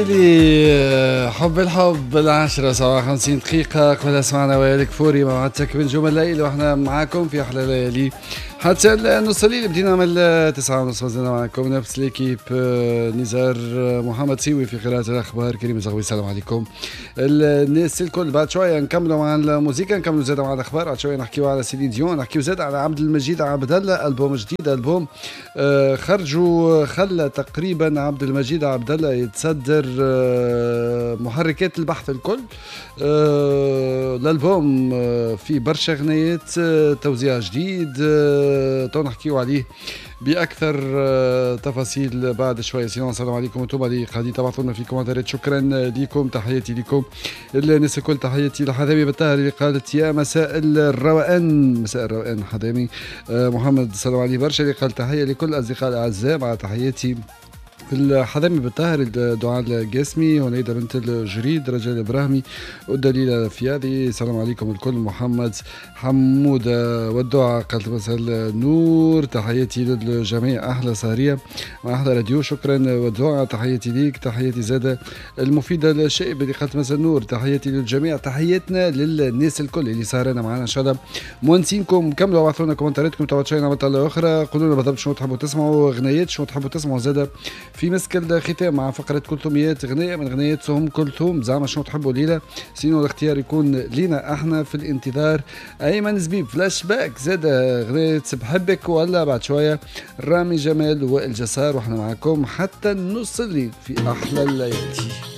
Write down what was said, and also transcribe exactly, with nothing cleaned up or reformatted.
العسيلي، حب الحب. العشرة سبعة وخمسين دقيقة. قبلها سمعنا وائل كفوري مع بنجوم الليل، واحنا معاكم في أحلى ليالي حتى نص الليل. بدينا من التسعة ونص، مازلنا معكم نفس l'équipe، نزار محمد سيوي في قراءة الأخبار، كريم زغوي. السلام عليكم الناس الكل. بعد شوية نكملوا مع الموسيقى، نكملوا زاد مع الأخبار. بعد شوية نحكيو على سيلين ديون، نحكيو زاد على عبد المجيد عبد الله، ألبوم جديد، ألبوم خرجوا خلى تقريبا عبد المجيد عبد الله يتصدر محركات البحث الكل. الألبوم فيه برشا غنيات، توزيع جديد، تو نحكيو عليه باكثر تفاصيل بعد شوية. sinon السلام عليكم انتم اللي قاعدين تبعثوا لنا في commentaire ات، شكرا لكم، تحياتي لكم الناس الكل. تحياتي لحذامي بالطاهر اللي قالت يا مساء الروقان، مساء الروقان حذامي. محمد السلام عليه برشا اللي قال تحية لكل الاصدقاء الاعزاء، مع تحياتي الحذامي بالطاهر، الدعاء القاسمي، هنيدة بنت الجريد، رجال ابراهيمي، والدليلة فيادي. السلام عليكم الكل. محمد حمودة والدعاء قالت مساء النور، تحياتي للجميع، احلى سهرية مع احلى راديو، شكرا والدعاء، تحياتي ليك. تحياتي زادة المفيدة الشائب اللي قالت مساء النور، تحياتي للجميع، تحياتنا للناس الكل اللي سهرنا معنا ان شاء الله مونسينكم. كملوا بعثوا لنا commentaire اتكم، تو شيء نعمل اخرى، قولوا لنا بالضبط شنو تحبوا تسمعوا، غنيات شنو تحبوا تسمعوا زادة في مسك الختام مع فقرة كلثوميات، غنية من غنيات أم كلثوم، زعما شنو تحبوا ليلة، sinon الاختيار يكون لينا احنا. في الانتظار أيمن زبيب فلاش باك زاد غنية بحبك، ولا بعد شوية رامي جمال وائل جسار، واحنا معكم حتى نص الليل في أحلى الليالي.